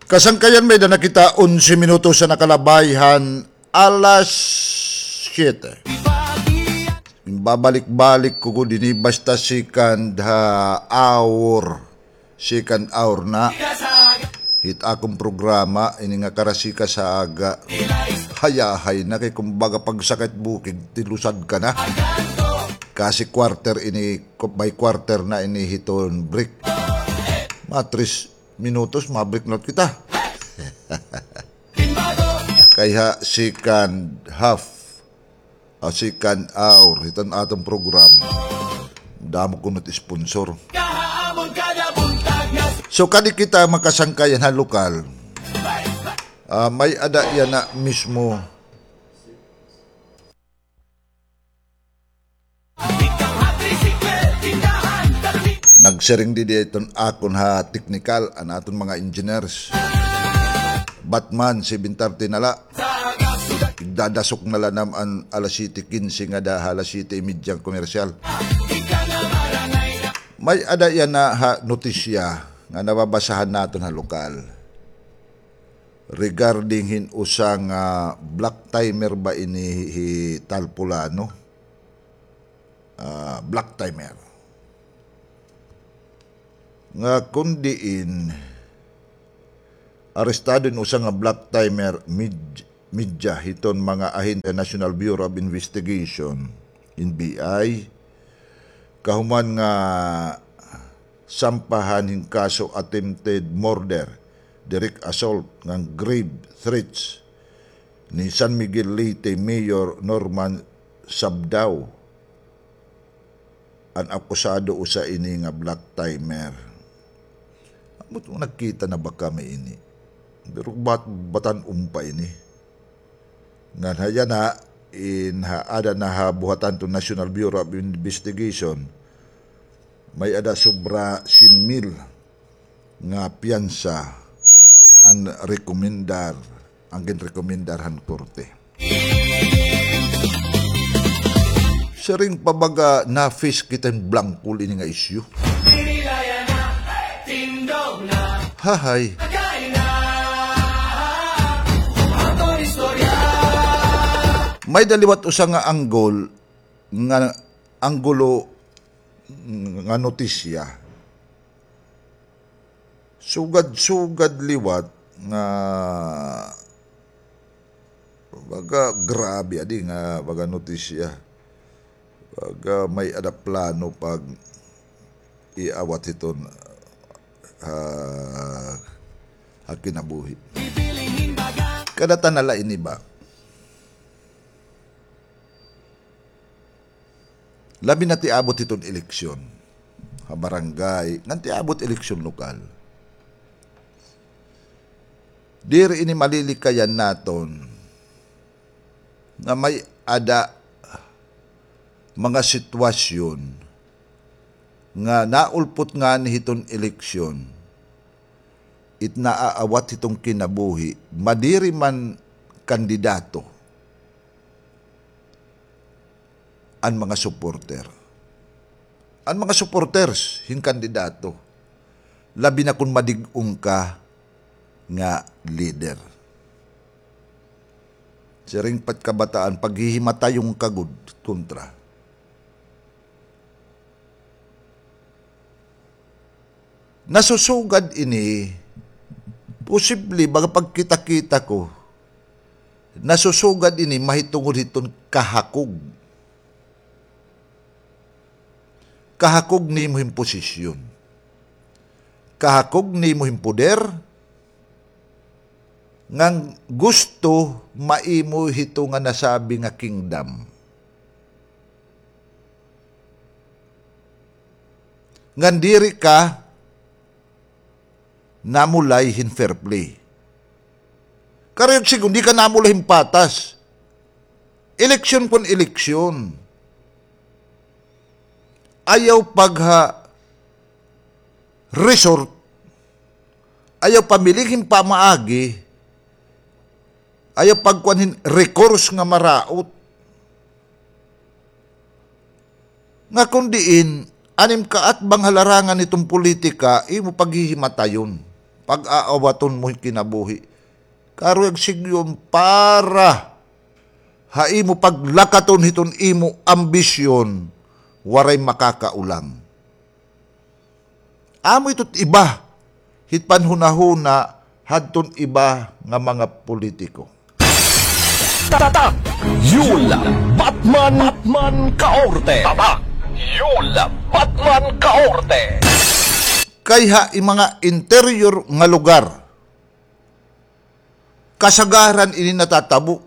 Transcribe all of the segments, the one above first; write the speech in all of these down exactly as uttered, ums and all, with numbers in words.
Kasangkayan, may-ada na kita onse minutos an nakalabay han alas siyete. Babalik-balik ko gud ini basta second ha hour. Second hour na hit akon programa, ini nga Karasikas ha Aga. Hayahay na kay kumbaga pagsakit bukid, tilusad ka na. Kasi quarter ini, by quarter na ini hiton break. Mga tres minutos, mabreak na kita. Kay ha second half, a second hour hiton aton program, damo kuno it sponsor. So, kadi kita makasangkayan ha lokal. Ah, may-ada yana mismo. Nagsiring didi iton akon ha teknikal, an aton mga engineers. Batman, seven thirty na la. Igdadasok na la nam an alas siyete kinse ngada ha alas siyete y media an komersyal. May-ada yana ha notisya nga nababasahan naton ha lokal. Regarding hin usa nga black timer ba ini hi Talpulano? Ah, black timer. Nga kon diin, arestado in usa nga black timer mid-, media hiton mga ahente National Bureau of Investigation, N B I, kahuman nga sampahan hin kaso attempted murder, direct assault, ngan grave threats ni San Miguel Leyte Mayor Norman Sabdao. An akusado usa ini nga black timer. Ambot nagkita na ba kami ini? Pero bat-, batan-on pa ini. Ngan ha yana, in ha, aada na ha buhatan hiton National Bureau of Investigation, may-ada sobra sien mil nga piyansa an rekomendar, an ginrekomendar han korte. Siring pa baga na-face kita hin blangkol ini nga isyu. Hahay. May-ada liwat usa nga anggol, nga anggulo nga notisya. Sugad-sugad liwat nga baga grabe adi nga baga notisya. Baga may-ada plano pag-iawat hiton, ah, ha kinabuhi. Kadatan na la ini ba? Labi na it iabot hiton eleksyon ha barangay, ngan it iabot eleksyon lokal. Diri ini malilikayan naton nga may-ada mga sitwasyon nga naulpot ngani hiton eleksyon, it naaawat hiton kinabuhi, madiri man kandidato, an mga supporter. An mga supporters hin kandidato, labi na kon madig-on ka nga leader. Siring pa it kabataan, paghihimatayon ka gud kontra. Nasusugad ini, posible, baga pagkita-kita ko, nasusugad ini mahitungod hiton kahakog. Kahakog nimo hin posisyon. Kahakog nimo hin poder, ngan gusto maimo hito nga nasabi nga kingdom. Ngan diri ka namulay hin fair play. Karuyag sigon, di ka namulay hin patas. Eleksyon kon eleksyon. Ayaw pagha-resort. Ayaw pamiling hin pamaagi. Ayaw pagkuan hin recourse nga maraot. Nga kon diin, an im kaatbang ha larangan hiton politika, imo paghihimatayon. pag-aawaton mo hin kinabuhi. Karuyag sigyon para ha imo paglakaton hiton imo ambisyon, waray makakaulang. Amo ito't iba hit panhunahuna hadton iba nga mga politiko. Tatak Yul Batman, Batman Kaorte. Tatak Yul Batman Kaorte. Kay ha mga interior nga lugar, kasagaran ini natatabo.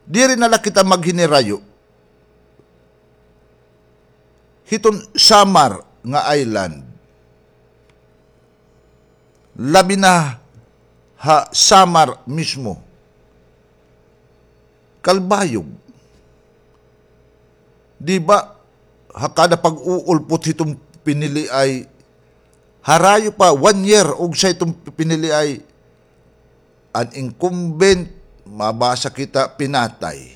Diri na la kita maghinirayo hiton Samar nga island. Labi na ha Samar mismo. Calbayog. Di ba, ha kada pag-uulpot hiton piniliay, harayo pa, one year, ugsa hiton piniliay, an incumbent, mabasa kita, pinatay.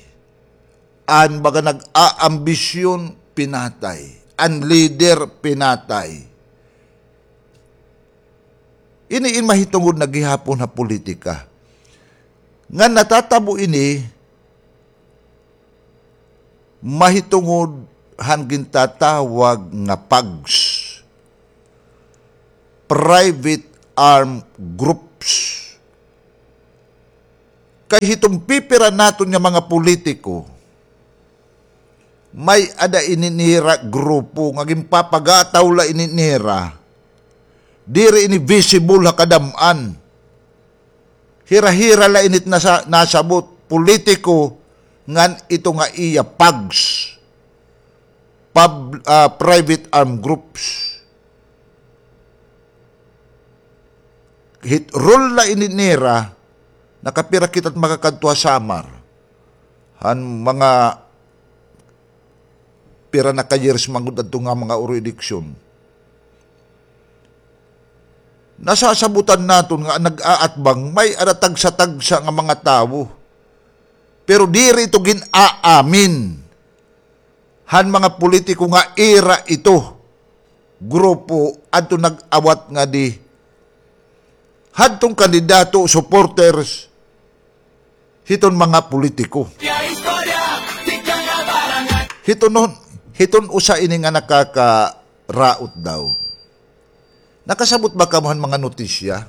An baga nag-aambisyon, pinatay. An leader, pinatay. Ini in mahitungod na gihapon ha politika. Ngan natatabo ini mahitungod han gintatawag nga PAGS, Private Armed Groups. Kay hiton pipira naton nga mga politiko, may-ada ini nira grupo nga ginpapagataw la ini nira. Diri ini visible ha kadam-an. Hira-hira la ini it nasa-, nasabot, politiko, ngan ito nga iya PAGS, pub-, ah, private armed groups. Hit rule la ini nira, nakapira kita it makakadto ha Samar. Han mga pira na ka years man gud adto nga mga uro eleksyon. Nasasabutan naton nga nag-aatbang, may-ada tagsa-tagsa nga mga tawo. Pero diri ito gin-aamin han mga politiko nga ira ito grupo adto nag-awat ngadi hadton kandidato, supporters hiton mga politiko. Hiton, hiton usa ini nga nakakaraot daw. Nakasabot ba kamo han mga notisya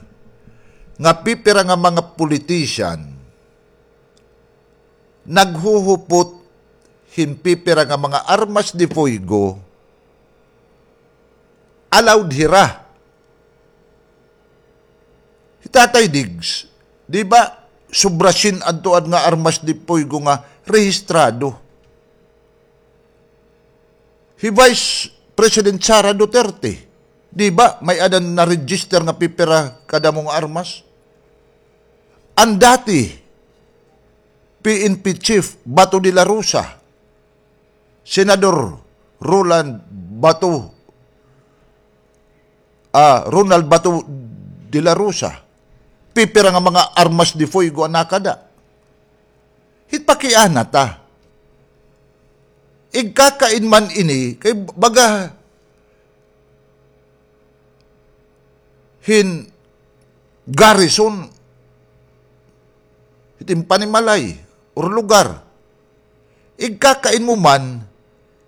nga pipira nga mga politician naghuhupot hin pipira nga mga armas de fuego, allowed hira. Hi Tatay Diggs, di ba, sobra syen adto an nga armas de fuego nga rehistrado. Hi Vice President Sara Duterte, di ba, may-ada na-register nga pipira kadamo nga armas? An dati P N P chief Bato de la Rosa, Senador Roland Bato, ah, Ronald Bato de la Rosa, pipira nga mga armas de fuego an nakada. Hit pakiana ta. Igkakain man ini, kay baga hin garrison, hit im panimalay or lugar. Igkakain mo man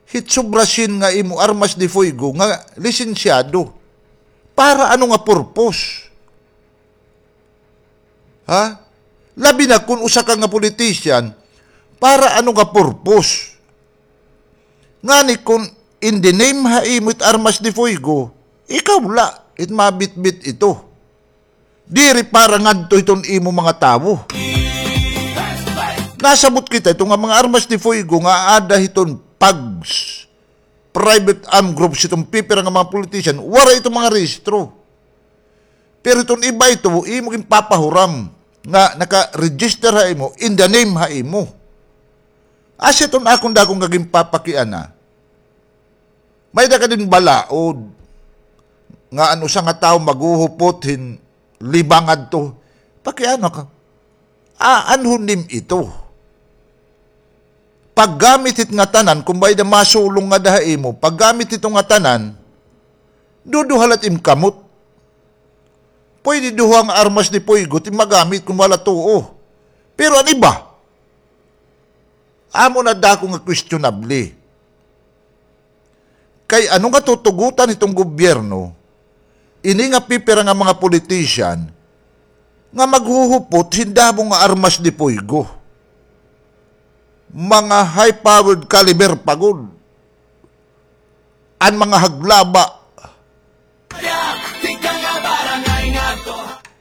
hit sobra syen nga imo armas de fuego nga lisensyado. Para ano nga purpose? Ha? Labi na kon usa ka nga politician, para ano nga purpose? Ngani kon in the name ha imo it armas de fuego, ikaw la it mabitbit ito. Diri para ngadto hiton imo mga tawo. Nasabot kita ito nga mga armas de fuego nga aada hiton PAGS, private armed groups, hiton pipira nga mga politician, waray ito mga rehistro. Pero iton iba ito, imo ginpapahuram nga naka-register ha imo, in the name ha imo. Asya iton akon dako nga ginpapakiana. May-ada ka din balaod nga an usa nga tawo maghuhupot hin lima ngadto. Pakiana ka. Aanhon nim ito? Paggamit hit ngatanan, kon may-ada masulong ngada ha imo, paggamit hito ngatanan, Duduha la it im kamot. Pwede duha nga armas ni Fuego it im magamit kon wala tuo. Pero an iba, amo na dako nga questionable. Kay ano nga tutugotan hiton gobyerno, ini nga pipira nga mga politician nga maghuhupot hin damo nga armas ni Fuego? Mga high-powered caliber pa gud. An mga haglaba.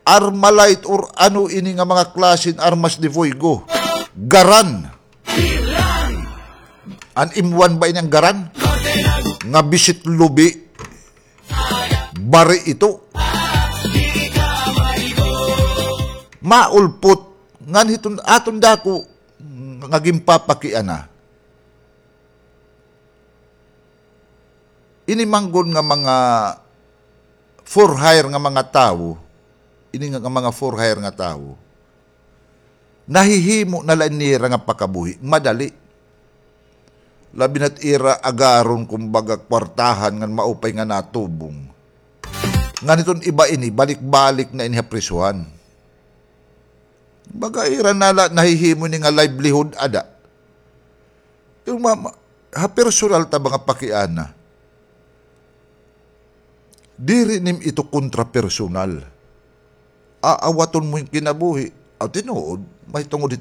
Armalite or ano ini nga mga klase hin armas ni Fuego. Garan. An im one ba ini an garan? Nga bisit lubi. Bari ito. Maulpot. Ngan hiton aton dako nga ginpapakiana. Ini man gud nga mga for hire nga mga tawo, ini nga, nga mga for hire nga tawo, nahihimo na la nira nga pakabuhi, madali. Labi na't ira agaron, kumbaga, kwartahan ngan maupay nga natubong. Ngan iton iba ini, balik-balik na ini ha prisuhan. Baga ira na la nahihimo ini nga livelihood ada. Yung ma-, ma-, ha personal ta ba nga pakiana. Diri nim ito kontra personal. Aawaton mo yung kinabuhi. Aw, tinuod, mahitungod